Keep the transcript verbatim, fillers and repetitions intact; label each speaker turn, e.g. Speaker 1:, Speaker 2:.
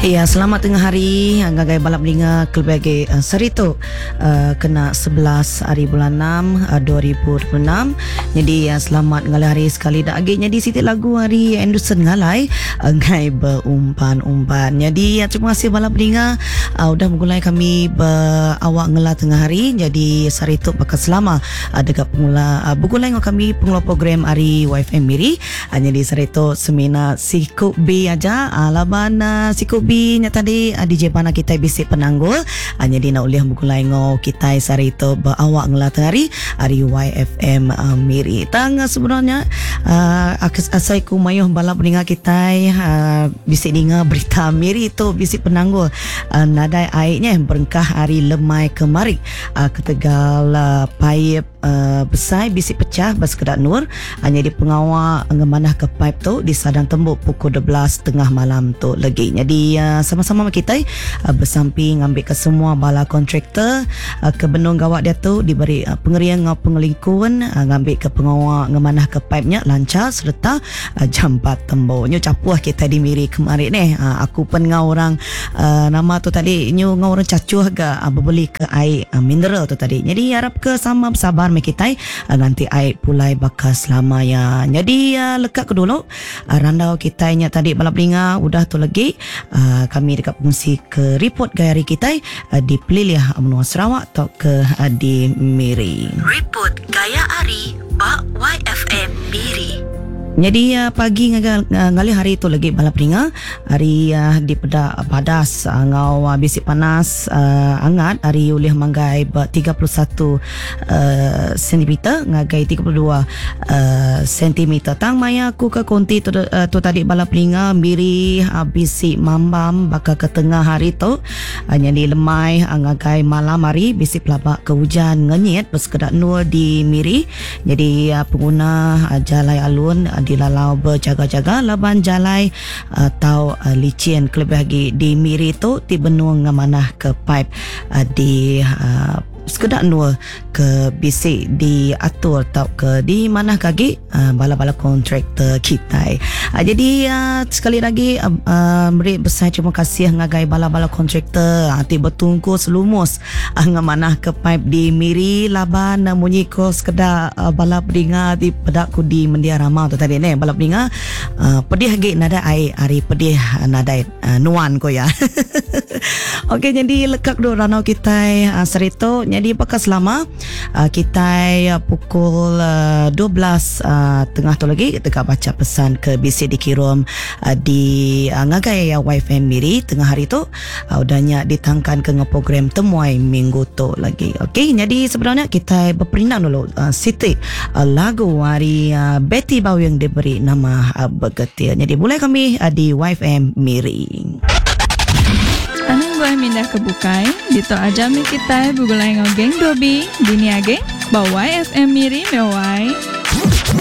Speaker 1: Ya, selamat tengah hari ngagai balap linga kelebih uh, sehari tu uh, kena sebelas hari bulan enam uh, dua ribu dua puluh enam. Jadi uh, selamat ngalih hari sekali dak lagi. Jadi siti lagu hari Anderson Ngalai ngai berumpan-umpan. Jadi uh, terima kasih balap linga uh, udah menggulai kami berawak ngela tengah hari. Jadi sehari tu bakal selama uh, dekat pengula uh, bergulai dengan kami pengelola program hari Y F M Miri. Uh, jadi sehari tu semina Siku B aja uh, laban uh, Siku B nya tadi uh, D J Pana kita bisik penanggul uh, jadi nak uliah bergulai ngau kita sehari tu berawak ngela tengah hari hari Y F M uh, Miri. Tang uh, sebenarnya uh, asai ku mayuh balap pendengar kita uh, bisik dengar berita Miri tu bisik penanggul uh, nadai airnya berengkah hari lemai kemari uh, ketegal uh, pipe uh, besar bisik pecah bas kedak nur hanya di pengawal ngemanah ke pipe tu di sadang tembuk pukul dua belas tengah malam tu lagi. Jadi uh, sama-sama kita uh, bersamping ambil ke semua bala kontraktor uh, ke benung gawak dia tu diberi uh, pengerian ngau pengelingkun uh, ngambil ke pengawal ngemanah ke pipe nya lancar serta uh, jampat tembok. Nyu capuh kita di Miri kemarin ni. Uh, aku pun ngau orang uh, nama tu tadi nyu ngau orang cacuh ke uh, berbeli ke air uh, mineral tu tadi. Jadi harap ke sama bersabar me kita uh, nanti air pulai bakal selama ya. Jadi uh, lekat ke dulu uh, randau kita nya tadi balap linga udah tu lagi uh, kami dekat fungsi ke report gaya hari kita uh, di Peliliah Menua Sarawak atau ke uh, di Miri.
Speaker 2: Report Gaya Ari ba Y F M Miri.
Speaker 1: Jadi uh, pagi ngagal uh, ngalih hari tu lagi balap ringa hari uh, di peda padas uh, ngau uh, bisik panas uh, angat hari ulih manggai ba tiga puluh satu uh, sentimeter ngagai tiga puluh dua uh, sentimeter. Tang maya aku ke konti tu, uh, tu tadi balap ringa Miri uh, bisik mambam bakal ke tengah hari tu uh, jadi lemai uh, ngagai malam hari bisik pelabak ke hujan ngenyit bersekedak nur di Miri. Jadi uh, pengguna uh, jalai alun uh, dilalau berjaga-jaga laban jalai atau uh, licin kelebih lagi di Miri tu ti benung ngamanah ke pipe uh, di uh, sekedak nur ke bisik diatur atau ke di mana kagi uh, bala-bala kontraktor kita. Uh, jadi uh, sekali lagi uh, uh, beri besar terima kasih ngagai bala-bala kontraktor uh, ti bertungku selumus uh, ngamanah ke pipe di Miri laban uh, munyi ko sekedak uh, bala pedinga di pedak ku di Mendia Rama tu tadi ne bala pedinga uh, pedih lagi nadai air hari pedih uh, nadai uh, nuan ko ya. Okey, jadi lekak do ranau kita uh, serito. Jadi bakal selama uh, kita uh, pukul uh, dua belas uh, tengah tu lagi kita baca pesan ke B C dikirim uh, di uh, ngagai uh, Y F M Miri tengah hari tu uh, udahnya ditangkan ke program temuai minggu tu lagi. Okey, jadi sebenarnya kita berperindang dulu uh, Siti uh, lagu hari uh, Betty Bau yang diberi nama uh, Bergetir. Jadi boleh kami uh, di Y F M Miri.
Speaker 3: Anang buah mindah ke bukai, dito aja mi kita begulai ngau geng Dobi, dini age, bawa F M Miri mewai.